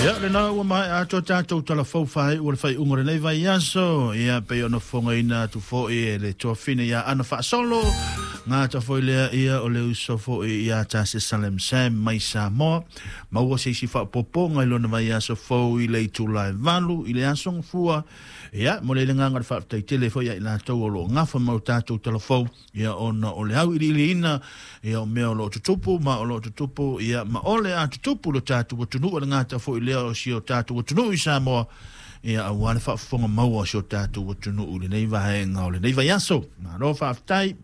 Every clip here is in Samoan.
Ia, lena ua maea atoa tatou tala fou faaiu o le faaiuga o lenei vaiaso. Ia, pei ona fofogaina atu foi e le tuafine ia Ana Faasolo, gata foi lea ia o le uso foi ia Tasi Salem Sam mai Samoa. Maua se isi faaopoopoga i lona vaiaso fou i le itula e 8 i le aso Gafua. Ia, mo le agaga o le faafetai tele foi ia i latou o lo o gafa ma o tatou tala fou. Ia ona o le auiliiliina ia o mea o lo o tutupu ma o lo o tutupu ia ma o le a tutupu lo tatou atunuu, e le gata foi lea o si o tatou atunuu i Samoa, ia aua le faafofoga maua o si o tatou atunuu i lenei vaega o lenei vaiaso. Malo faafetai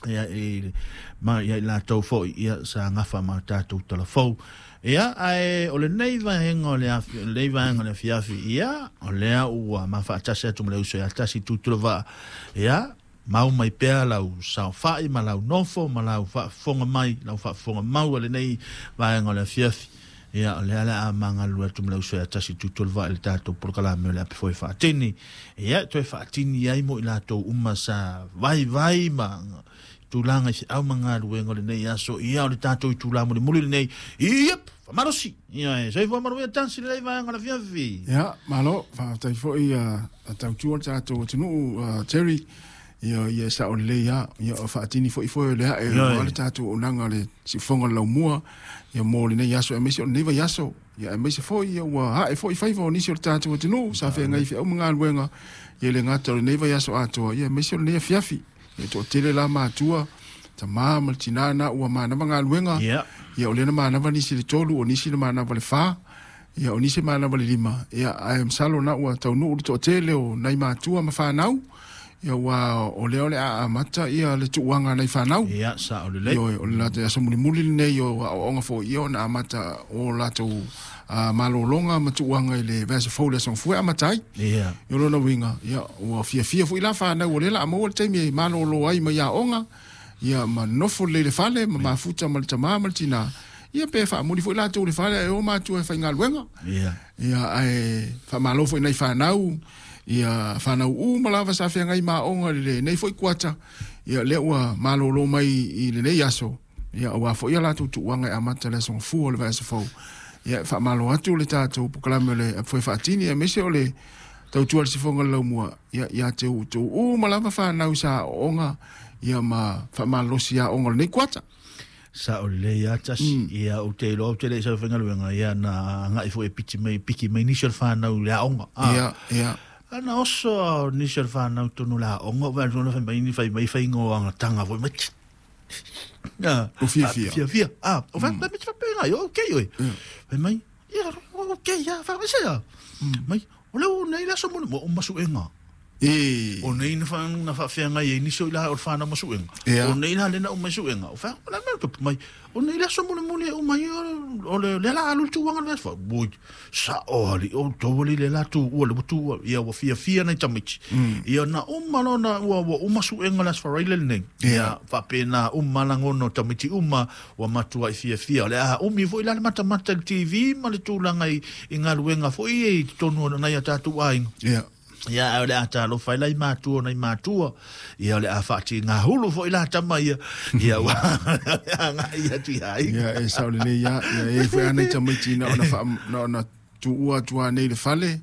ia i ma ia i latou foi ia sa gafa ma tatou talafou. Ia ae o lenei vaega o le afi, lenei vaega o le afiafi, ia o lea ua mafaatasi atu ma le uso ia Tasi Tutulavaa. Ia mau mai pea lau saofai ma lau nofo ma lau faafofoga mai, lau faafofoga mau a lenei vaega o le afiafi. Ia, o lea le a magalulue atu ma le uso ia Tasi Tutuolavaa i le tatou polokalame o le Ape Foe Faatini. Ia, toe faatini ai mo i latou uma sa vaivai ma tulaga i feau ma galuega o lenei aso. Ia, o le tatou itula mulimuli lenei. Iep, faamalosi. Ia, e soifua manuia Tasi lenei vaega o le afiafi. Ia, malo, faafetai foi a tautua le tatou atunuu, Terry. Ia, ia e sao lelei lava. Ia, o faatini foi foe o le ae, aua le tatou auaunaga le siufofoga o le laumua, ia mo lenei aso aemaise o lenei vaiaso. Ia aemaise foi ia ua ae foi faiva o nisi o le tatou atunuu sa feagai feau ma galuega, ia e le gata o lenei vaiaso atoa, ia aemaise o lenei afiafi. Ia toatele la matua, tamā ma le tinā na ua manava galuega, ia o lea na manava nisi le 3, o nisi na manava le 4, ia o nisi manava le 5, ia ae masalo na ua taunuu le toatele o nai matua ma fanau, ia ua o lea o le a amata ia le tuuaga a nai fanau. Ia, sao lelei. Ioe, o le latou aso mulimuli lenei o aoaoga foi ia ona amata o latou malologa ma tuuaga i le vaiaso fou le aso Gafua e amata ai. Ia. O lona uiga, ia, ua fiafia foi la fanau o lea o le a maua le taimi e malolo ai mai aoga, ia ma nofo lelei i le fale, ma mafuta ma le tamā ma le tinā, ia pe faamuli foi latou i le fale ae o matua e faigaluega. Ia. Ia, ae faamalo foi i nai fanau, ia fanau uma lava sa feagai ma aoga i lenei foi kuata, ia lea ua malolo mai i lenei aso, ia aua foi a latou tuuaga e amata le aso Gafua o le vaiaso fou. Ia e faamalo atu le tatou polokalame o le Ape Foe Faatini, aemaise o le tautua i le sifoga o le laumua, ia ia te outou uma lava fanau sa aooga, ia ma faamalolosi aoga o lenei kuata. Sao lelei lava Tasi. Ia ou te iloa ou te le i sau i faigaluega, ia na agai foi e piti mai, piki mai nisi o le fanau i le aoga. Ia, ia. Ana oso a nisi o le fanau tonu i le aoga, ou vaai atu fai mai ni fai mai faigoagatanga foi mai. O fiafia. Fiafia. Ah, o fa mai fa pe ngai, okay oi. Fai mai, ia, okay, ia, fa mai se. Mai, o le o nei le aso mo o masuenga. E. O nei na fa na faafeagai ai nisi o i la o le fanau ma suega. O nei la le na uma i suega. O fa la mea tupu mai. O nei le aso mulimuli e uma ai o le lea la alu le tuuaga le vaiaso. Oi, sao alii o outou alii le la tuua le ua tuua. Ia ua fiafia nai tamaiti. Ia na uma loa na ua ua uma suega le aso Faraile lenei. Ia faapena uma lagona o tamaiti uma ua matuai fiafia. O le a umi foi la le matamata i le TV ma le tulaga i galuega foi ia i totonu o nai a tatou aiga. Ia. Ia, ae o le a talofa ai la i matua o nai matua. Ia, o le a faatigahulu foi la tama ia. Ia, ua agai atu i aiga. Ia, e sao lelei lava. Ia, e i ai foi lava nai tamaiti na ona faa, na ona tuua atu lava nei i le fale.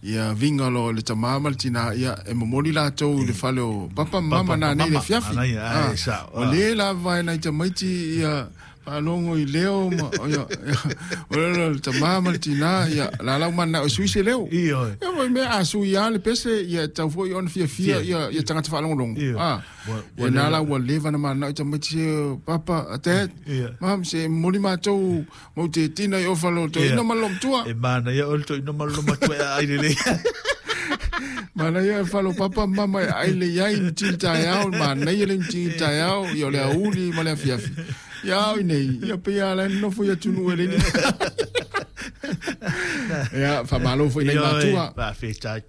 Ia, viga loa i le tamā ma le tinā, ia, e momoli latou i le fale o papa ma mama nanei i le afiafi. Manaia, e sao. Ua le lava e nai tamaiti ia faalogo i leo ma ia o le tamā ma le tinā ia la lau mananao e sui se leo. Ioe. Ia foi mea a sui lava le pese ia e tatau foi ona fiafia ia ia tagata faalogologo. Ioe. Ah. Ia na la ua leva ona mananao i tamaiti se papa, dad, mom se momoli matou mau te tina i o fale o toeaina ma le loomatua. E manaia oe le toeaina ma le loomatua e aai lelei. Manaia e fale o papa ma mama e aai lelei ai ma tini taeao, manaia le tini taeao, ia o le aoauli ma le afiafi. Ia ao i nei, ia pei lava la e nonofo i atunuu e leai ni Ia, faamalo foi i nai matua. Faafetai.